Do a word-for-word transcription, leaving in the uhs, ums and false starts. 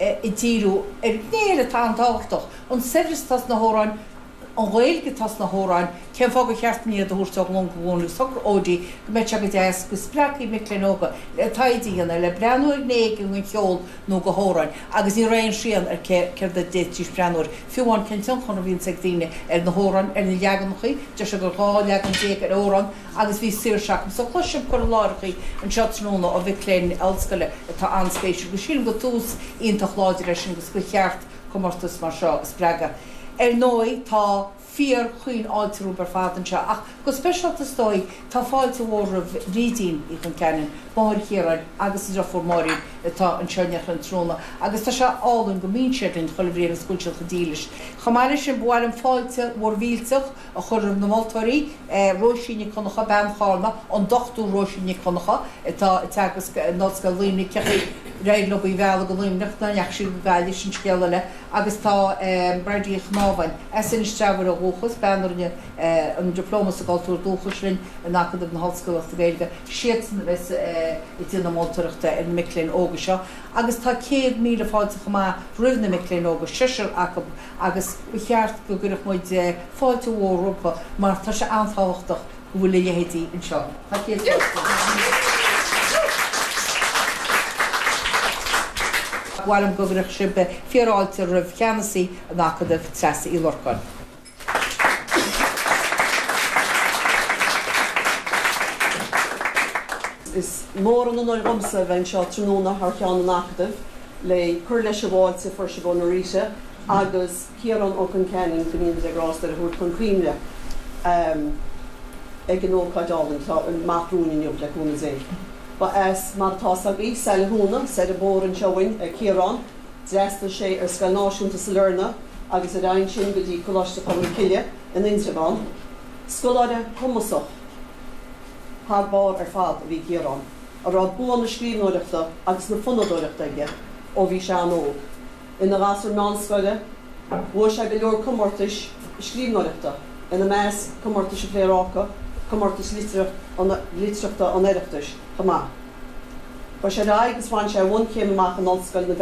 ag díriú ar ghné eile atá an-tábhachtach, an saibhreas atá sna hamhráin, an Ghaeilge atá sna hamhráin, cén fáth gur cheart dúinn iad a thabhairt ó ghlúin go glúin agus thug Odí go mbeadh sé go deas go spreagfaí mic léinn óga le taighde a dhéanamh, le breathnú ar ghné éigin den cheol nó de hamhráin agus ní raibh aon srian ar céard a d'fhéadfaidís breathnú air, fiú amháin cén tionchar a bhíonns ag daoine ar na hamhráin, ar na leaganacha, deir sé gur dhá leagan déag ar amhrán agus bhí saoirse acu. So cloisfidh sibh cur i láithreacha anseo tráthnóna ó mhic léinn ollscoile atá an-spéisiúil agus sílim gur tús iontach láidir é sin agus gur cheart comórtas mar seo a spreagadh. Ar ndóigh tá fíor-chaoinfháilte romhaibh ar fad anseo ach go speisialta is dóigh tá fáilte mhór roimh Bhrídín Uí Chonceanainn, máthair Chiaráin agus a deirfiúr Máirín atá anseo in éineacht linn tráthnóna agus tá sé álainn go mbíonn siad linn chuile bhliain agus go bhfuil siad chomh dílis. Chomh maith leis sin ba mhaith liom fáilte mhór mhillteach a chur roimh na moltóirí, Róisín Nic Dhonncha, bean Chárna, an Dochtúir Róisín Nic Dhonncha atá ag teagasc in Ollscoil Luimnigh, cé chaoi ar éirigh leo í a mhealladh go Luimneach, nach ndeachaigh sí go Gaillimh, sin scéal eile. Agus tá Bridie Uí Chnámháin, as Inis Treabhair ó dhúchas, bean a rinne an Dioplóma sa gCultúr Dúchais linn in Acadamh na hOllscolaíochta Gaeilge, siadsan a bheas ag déanamh moltóireachta ar na mic léinn óga seo. Agus tá céad míle fáilte chomh maith roimh na mic léinn óga, seisear acu, agus ba cheart go gcuirfeadh muid fáilte mhór rompu mar tá sé an-tábhachtach go bhfuil a leithéidí anseo. Tá céad fáilte. Ba mhaith liom go gcuirfeadh sibh fíorfháilte roimh cheannasaí an Acadaimh, Treasa Uí Lorcáin. Is mór an onóir dhomsa a bheith anseo tráthnóna thar cheann an Acadaimh le cur leis an bhfáilte a fuair sibh ó Norita agus Ciarán Ó Conceanainn, go ndéana Dia grásta air, a thabhairt chun cuimhne ag an ócáid álainn atá amach romhainn inniu, le cúnamh Dé. Ba as, mar atá 's agaibh, Saile Thúna, soir an bóthar anseo uainn, é Ciarán. D'fhreastail sé ar Scoil Náisiúnta Sailearna agus ar aghaidh ansin go dtí Coláiste Cholm Cille in Indreabhán. Scoláire cumasach thar barr ar fad a bhí i gCiarán, a raibh bua na scríbhneoireachta agus na fonnadóireachta aige ó bhí sé an-óg. Ina ghasúr meánscoile, bhuaigh sé go leor comórtais scríbhneoireachta, ina measc Comórtais an Phléaráca, Comórtas Litearthachta an Oireachtais chomh maith. Chuaigh sé ar aghaidh agus bhain sé a bhunchéim amach in Ollscoil na.